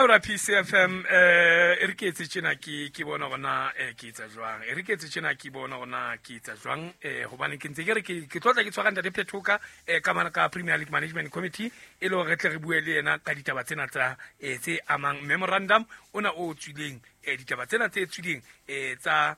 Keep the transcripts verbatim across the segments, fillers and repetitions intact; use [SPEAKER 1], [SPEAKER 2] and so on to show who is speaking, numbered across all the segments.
[SPEAKER 1] Mabra P C F M eh e re ke etse tjena ke ke bona hore eh ke etsa jwang. E re ke etse tjena ke bona hore ke etsa jwang eh hobane ke ntse ke re ke ke tlotla ke tshwara Ntate Phethoka eh ka mana ka Premier League Management Committee e le hore re tle re bue le yena ka ditaba tsena tsa eh tse amang memorandum ona o tswileng eh ditaba tsena tse tswileng eh tsa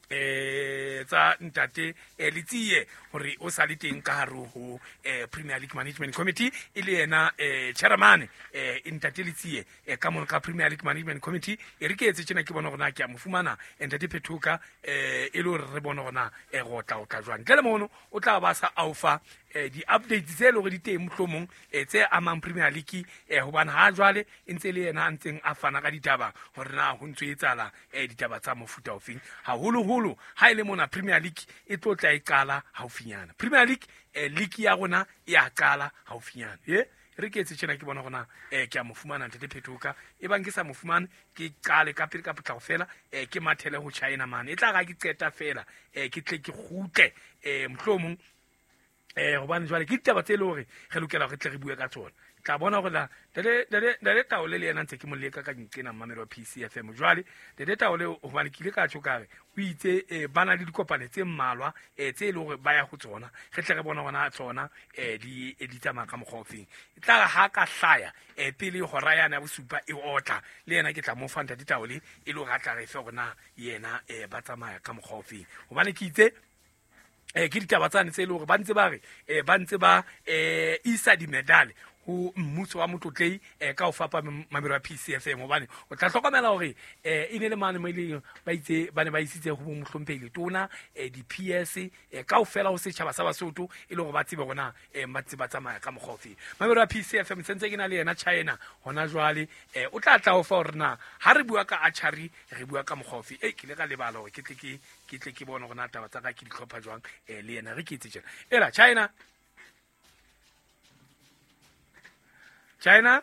[SPEAKER 1] eh tsa Ntate eh Letsie hore o sa le teng ka hare ho eh Premier League Management Committee e le yena eh chairman eh Ntate Letsie eh ka mona ka Premier League Management Committee e re ke etse tjena ke bona hore na ke a mo fumana Ntate Phethoka eh e le hore re bone hore na eh go tla o tla jwang ntle le mono o tla ba sa aufa eh di-updates tse le hore di teng mohlomong eh tse amang Premier League eh hobane ha jwale e ntse le yena a ntseng a fana ka ditaba hore na ho ntso etsahala eh ditaba tsa mofuta ofeng haholoholo ha ile mona Premier League e tlo tla e qala haufinyana. Premier League eh league ya rona e a qala haufinyana. Ye re ke etse tjena ke bona hore eh ke a mo fumana Ntate Phethoka e bang ke sa mo fumane ke qale ka pele ka potlako fela eh ke mathele ho China man e tla ga ke qeta fela eh ke tle ke kgutle eh mohlomong eh hobane jwale ke ditaba tse le hore re lokela re tle re bue ka tsona. Tla bona hore la Ntate Ntate Ntate Taole le yena ntse ke mo leka ka nqena mmamelo wa P C F M jwale Ntate Taole hobane ke ile ka tjho ka re o itse eh ba na le dikopano tse mmalwa eh tse le hore ba ya ho tsona re tle re bona hona tsona eh di di tsamaya ka mokgwa ofeng e tla ha ka hlaya eh pele hora yana ya bosupa e otla le yena ke tla mo fa Ntate Taole e le hore a tla re fe hore na yena eh ba tsamaya ka mokgwa ofeng hobane ke itse eh ke ditaba tsane tse le hore ba ntse ba re eh ba ntse ba eh isa di-medal ho mmuso wa Motlotlei eh ka ho fapa mamelo ya P C F M hobane o tla hlokomela hore eh e ne le mane mo ileng ba itse ba ne ba isitse ho mohlomphehi Letona eh di-P S eh kaofela ho setjhaba sa Basotho e le hore ba tsebe hore na eh ba tseba tsamaya ka mokgwa ofe. Mamelo ya P C F M sentse ke na le yena China hona jwale eh o tla tla ho fa hore na ha re bua ka archery re bua ka mokgwa ofe. Eh ke ile ka lebala hore ke tle ke ke tle ke bone hore na taba tsa ka ke di hlopha jwang eh le yena re ke etse tjena. Ela China China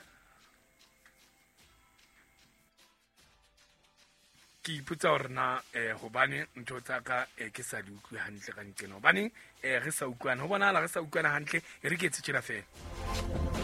[SPEAKER 1] ke ipotsa hore na eh hobane ntho tsa ka eh, ke sa di utlwe hantle ka nqena hobane eh re sa utlwana ho bonahala re sa utlwana hantle e re ke etse tjena fela.